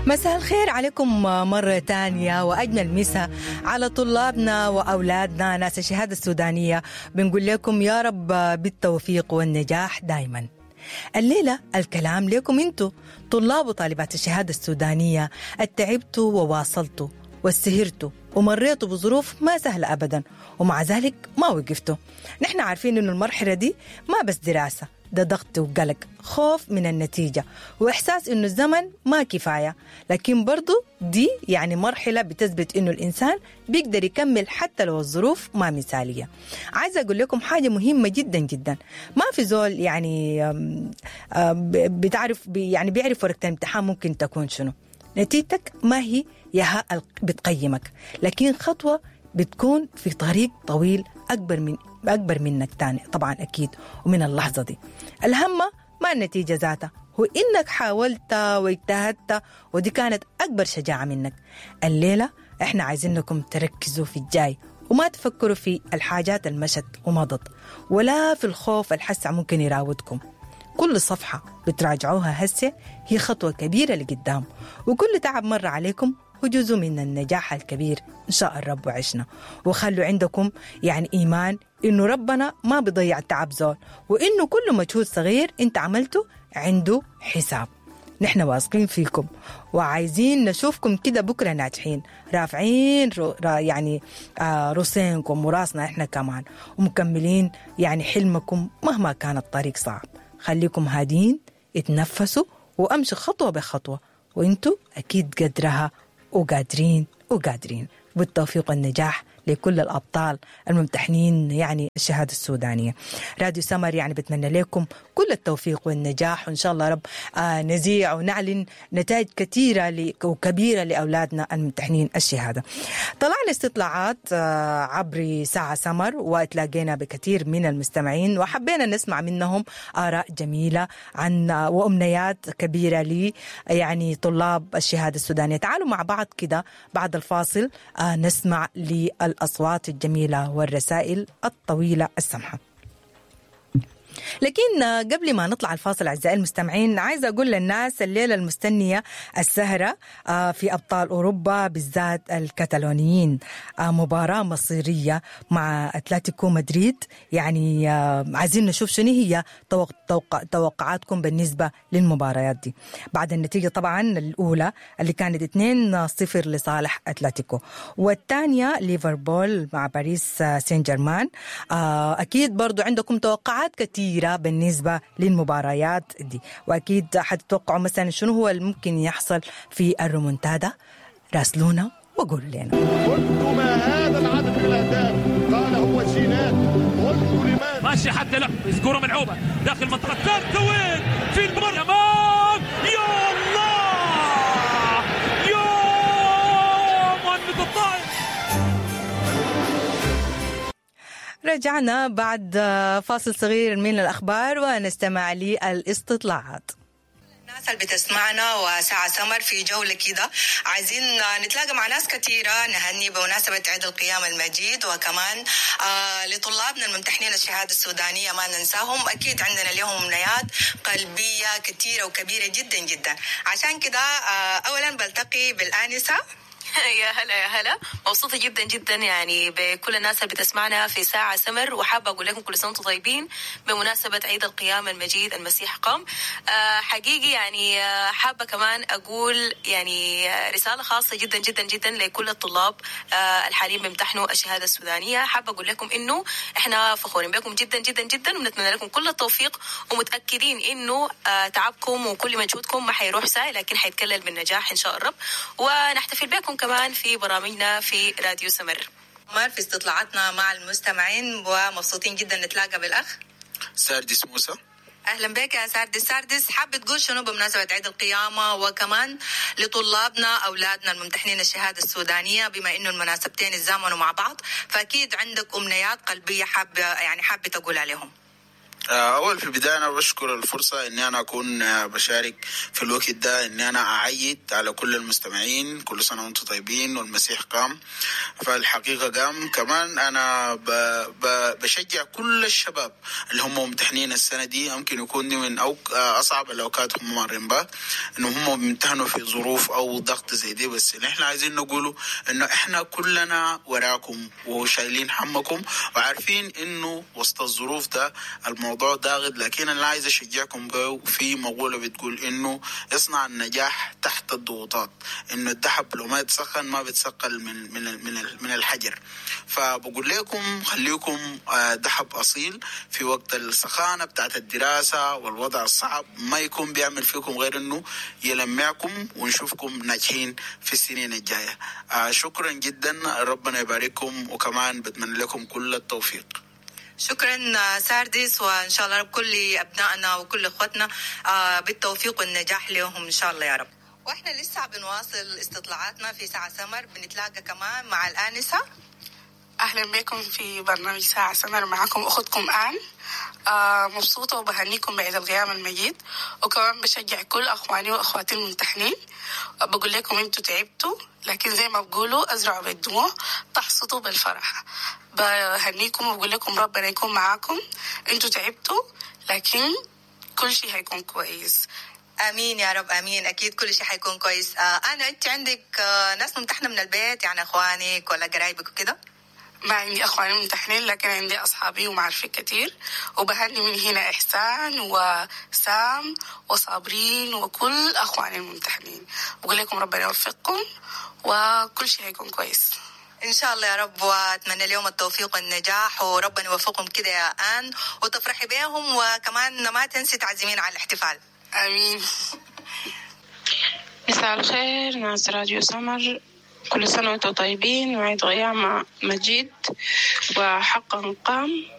مساء الخير عليكم مرة تانية، وأجمل مساء على طلابنا وأولادنا ناس الشهادة السودانية. بنقول لكم يا رب بالتوفيق والنجاح دايما. الليلة الكلام لكم انتو طلاب وطالبات الشهادة السودانية، التعبتوا وواصلتوا وسهرتوا ومريتوا بظروف ما سهلة أبدا، ومع ذلك ما وقفتوا. نحن عارفين إنه المرحلة دي ما بس دراسة، ده ضغط وقلق، خوف من النتيجة، وإحساس إنه الزمن ما كفاية. لكن برضو دي يعني مرحلة بتثبت إنه الإنسان بيقدر يكمل حتى لو الظروف ما مثالية. عايزة أقول لكم حاجة مهمة جدا جدا، ما في زول يعني بتعرف يعني بيعرف ورقة الامتحان ممكن تكون شنو. نتيجتك ما هي ياها بتقيمك، لكن خطوة بتكون في طريق طويل أكبر منك تاني طبعا أكيد. ومن اللحظة دي الهمة ما النتيجة ذاتها، هو إنك حاولت واجتهدت، ودي كانت أكبر شجاعة منك. الليلة إحنا عايزينكم تركزوا في الجاي، وما تفكروا في الحاجات المشت ومضت، ولا في الخوف الحسع ممكن يراودكم. كل صفحة بتراجعوها هسه هي خطوة كبيرة لقدام، وكل تعب مر عليكم هو جزء من النجاح الكبير إن شاء الرب وعشنا. وخلوا عندكم يعني إيمان إنه ربنا ما بيضيع تعب زول، وإنه كل مجهود صغير أنت عملته عنده حساب. نحن واثقين فيكم وعايزين نشوفكم كده بكرة ناجحين، رافعين يعني راسينكم وراسنا إحنا كمان، ومكملين يعني حلمكم مهما كان الطريق صعب. خليكم هادين، اتنفسوا وامشوا خطوة بخطوة، وانتوا أكيد قدرها وقادرين وقادرين. بالتوفيق والنجاح لكل الأبطال الممتحنين يعني الشهادة السودانية. راديو سمر يعني بتمنى لكم كل التوفيق والنجاح، وإن شاء الله رب نزيع ونعلن نتائج كثيرة وكبيرة لأولادنا الممتحنين الشهادة. طلعنا استطلاعات عبر ساعة سمر، وتلاقينا بكثير من المستمعين، وحبينا نسمع منهم آراء جميلة عن وأمنيات كبيرة لي يعني طلاب الشهادة السودانية. تعالوا مع بعض كده بعد الفاصل نسمع للأصوات الجميلة والرسائل الطويلة السمحة. لكن قبل ما نطلع الفاصل أعزائي المستمعين، عايزة أقول للناس الليلة المستنية السهرة في أبطال أوروبا بالذات الكتالونيين، مباراة مصيرية مع أتلتيكو مدريد. يعني عايزين نشوف شنو هي توقعاتكم بالنسبة للمباريات دي بعد النتيجة طبعا الأولى اللي كانت 2-0 لصالح أتلتيكو، والثانية ليفربول مع باريس سان جيرمان. أكيد برضو عندكم توقعات كثيرة بالنسبة للمباريات دي، وأكيد حتتوقعوا مثلا شنو هو اللي ممكن يحصل في الرومونتادا. راسلونا وقولوا لنا. قلت ما هذا العدد من الأهداف؟ قال هو جينات. قلت لماذا؟ ماشي حتى لا الكرة ملعوبة داخل منطقة ترتوين في المرمى. يا الله يا مهند الطائر. رجعنا بعد فاصل صغير من الأخبار ونستمع للاستطلاعات. الناس اللي بتسمعنا وساعة سمر في جولة كده، عايزين نتلاقى مع ناس كثيرة، نهني بمناسبة عيد القيامة المجيد، وكمان لطلابنا الممتحنين الشهادة السودانية ما ننساهم. أكيد عندنا لهم أمنيات قلبية كثيرة وكبيرة جدا جدا. عشان كده أولا بلتقي بالآنسة. يا هلا يا هلا، مبسوطة جدا جدا يعني بكل الناس اللي بتسمعنا في ساعة سمر، وحابة أقول لكم كل سنة وأنتم طيبين بمناسبة عيد القيامة المجيد المسيح قام. حقيقي يعني حابة كمان أقول يعني رسالة خاصة جدا جدا جدا لكل الطلاب الحاليين بيمتحنوا الشهادة السودانية. حابة أقول لكم إنه إحنا فخورين بكم جدا جدا جدا، ونتمنى لكم كل التوفيق، ومتأكدين إنه تعبكم وكل مجهودكم ما حيروح ساي، لكن حيتكلل بالنجاح إن شاء الرب. ونحتفل بكم كمان في برامجنا في راديو سمر. في استطلاعاتنا مع المستمعين، ومبسوطين جدا نتلاقى بالأخ ساردس موسى. أهلا بك يا ساردس. ساردس، حابة تقول شنو بمناسبة عيد القيامة، وكمان لطلابنا أولادنا الممتحنين الشهادة السودانية، بما إنه المناسبتين اتزامنوا مع بعض، فأكيد عندك أمنيات قلبية حابة تقول عليهم. أول في البداية أنا بشكر الفرصة إني أنا أكون بشارك في الوقت ده، إني أنا أعيد على كل المستمعين، كل سنة وأنتم طيبين والمسيح قام. فالحقيقة قام. كمان أنا بشجع كل الشباب اللي هم ممتحنين السنة دي، يمكن يكون دي من أصعب الأوقات هم مارين بها، إنه هم بيمتحنوا في ظروف أو ضغط زي دي. بس اللي إحنا عايزين نقوله إنه إحنا كلنا وراكم وشايلين همكم وعارفين إنه وسط الظروف ده الموضوع ضاغط، لكن أنا عايز أشجعكم به في مقولة بتقول إنه اصنع النجاح تحت الضغوطات، إنه الذهب لو ما يتسخن ما بيتثقل من من من من الحجر. فبقول لكم خليكم ذهب أصيل في وقت السخانة بتاعت الدراسة والوضع الصعب، ما يكون بيعمل فيكم غير إنه يلمعكم ونشوفكم ناجحين في السنين الجاية. شكرا جدا، ربنا يبارككم، وكمان بتمنى لكم كل التوفيق. شكرا ساردس، وإن شاء الله رب كل أبنائنا وكل إخوتنا بالتوفيق والنجاح لهم إن شاء الله يا رب. وإحنا لسه بنواصل استطلاعاتنا في ساعة سمر، بنتلاقى كمان مع الآنسة. أهلا بكم في برنامج ساعة سمر، معكم أختكم آن. مبسوطة وبهنيكم بعيد القيامة المجيد، وكمان بشجع كل أخواني وأخواتي الممتحنين. بقول لكم أنتوا تعبتوا، لكن زي ما بقولوا أزرعوا بالدموع تحصدوا بالفرح. بهنيكم وبقول لكم ربنا يكون معاكم، أنتوا تعبتوا لكن كل شيء هيكون كويس. امين يا رب، امين، اكيد كل شيء حيكون كويس. انا انت عندك ناس ممتحنه من البيت، يعني اخوانك ولا قرايبك وكده؟ ما عندي أخواني ممتحنين، لكن عندي أصحابي ومعارفي كتير، وبهني من هنا إحسان وسام وصابرين وكل أخواني الممتحنين. بقول لكم ربنا يوفقكم وكل شيء هيكون كويس إن شاء الله يا رب، وأتمنى لهم التوفيق والنجاح، وربنا يوفقهم كده يا آن وتفرحي بيهم، وكمان ما تنسي تعزمين على الاحتفال. آمين. مساء الخير ناس راديو سمر، كل سنة وانتم طيبين، وعيد قيامة مجيد وحقا قام.